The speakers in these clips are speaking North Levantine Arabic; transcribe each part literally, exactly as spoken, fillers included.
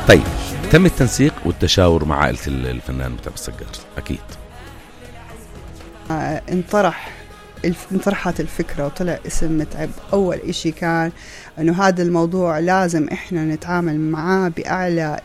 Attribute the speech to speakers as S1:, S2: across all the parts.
S1: طيب تم التنسيق والتشاور مع عائلة الفنان متعب السجار أكيد.
S2: آه انطرح انطرحت الفكرة وطلع اسم متعب. أول إشي كان أنه هذا الموضوع لازم إحنا نتعامل معاه بأعلى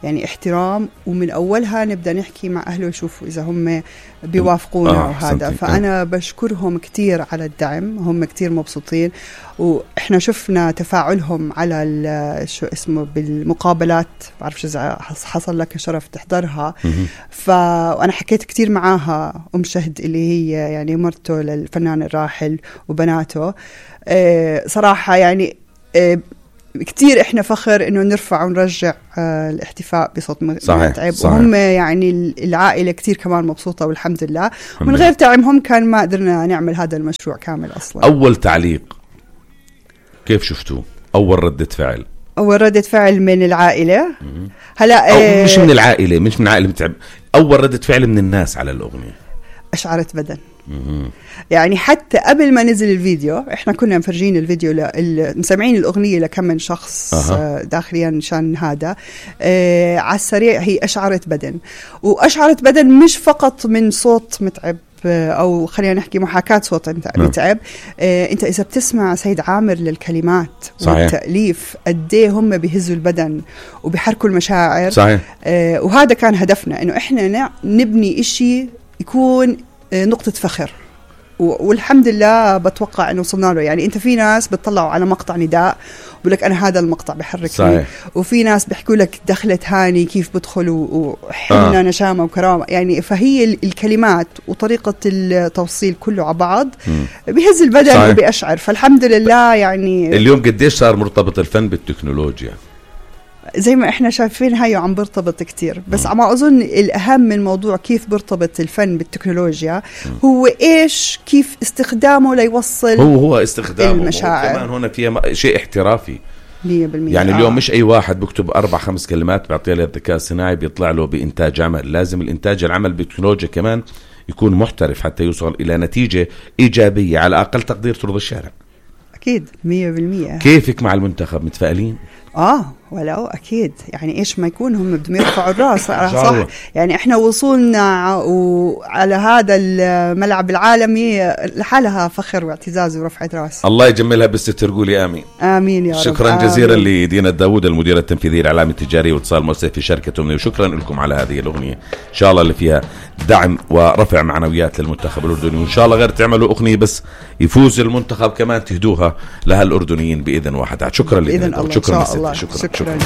S2: يعني احترام، ومن أولها نبدأ نحكي مع أهله وشوفوا إذا هم بيوافقونا آه وهذا. فأنا بشكرهم كتير على الدعم، هم كتير مبسوطين، وإحنا شفنا تفاعلهم على شو اسمه بالمقابلات، بعرفش إذا حصل لك شرف تحضرها. فأنا حكيت كتير معاها أم شهد اللي هي يعني مرته للفنان الراحل وبناته. آه صراحة يعني آه كتير إحنا فخر إنه نرفع ونرجع آه الاحتفاء بصوت متعب. وهم يعني العائلة كتير كمان مبسوطة والحمد لله. ومن غير دعمهم كان ما قدرنا نعمل هذا المشروع كامل أصلا.
S1: أول تعليق كيف شفتوه؟ أول ردة فعل
S2: أول ردة فعل من العائلة هلا
S1: آه مش من العائلة مش من عائلة متعب، أول ردة فعل من الناس على الأغنية
S2: أشعرت بدن. يعني حتى قبل ما نزل الفيديو احنا كنا مفرجين الفيديو مسمعين الأغنية لكم من شخص أه. داخليا شان هذا آه على السريع. هي أشعرت بدن، وأشعرت بدن مش فقط من صوت متعب أو خلينا نحكي محاكاة صوت متعب. آه انت إذا بتسمع سيد عامر للكلمات صحيح. والتأليف قديه هم بيهزوا البدن وبيحركوا المشاعر صحيح. آه وهذا كان هدفنا، إنه احنا نبني إشي يكون نقطة فخر، والحمد لله بتوقع انه وصلنا له. يعني انت في ناس بتطلعوا على مقطع نداء بقول لك انا هذا المقطع بحركني، وفي ناس بيحكوا لك دخلت هاني كيف بدخلوا وحنا آه. نشامه وكرامه. يعني فهي الكلمات وطريقه التوصيل كله على بعض بيهز البدن صحيح. وبيشعر. فالحمد لله يعني
S1: اليوم قديش صار مرتبط الفن بالتكنولوجيا؟
S2: زي ما احنا شايفين هاي عم برتبط كتير، بس عم أظن الأهم من موضوع كيف برتبط الفن بالتكنولوجيا هو إيش كيف استخدامه ليوصل
S1: هو هو استخدامه
S2: المشاعر.
S1: كمان هنا فيها شيء احترافي
S2: مية بالمية.
S1: يعني اليوم آه. مش أي واحد بكتب أربع خمس كلمات بعطيها للذكاء الصناعي بيطلع له بإنتاج عمل. لازم الإنتاج العمل بالتكنولوجيا كمان يكون محترف حتى يوصل إلى نتيجة إيجابية على أقل تقدير ترضي الشارع.
S2: أكيد مية بالمية.
S1: كيفك مع المنتخب؟ متفائلين؟
S2: آه ولو أكيد يعني إيش ما يكون هم بدهم يرفعوا الرأس صح. يعني إحنا وصولنا وعلى هذا الملعب العالمي لحالها فخر واعتزاز ورفعة رأس.
S1: الله يجملها بالستر، قولي آمين.
S2: آمين يا رب.
S1: شكرا آمين. جزيلا لدينا الداود المدير التنفيذي الإعلام التجاري واتصال مؤسسي في شركة أمنية، وشكرا لكم على هذه الأغنية إن شاء الله اللي فيها دعم ورفع معنويات للمنتخب الأردني، وإن شاء الله غير تعملوا أغنية بس يفوز المنتخب كمان تهدوها لها الأردنيين بإذن واحد. شكرا لدينا.
S2: شكرا, شكرا, شكرا.
S1: شكرا.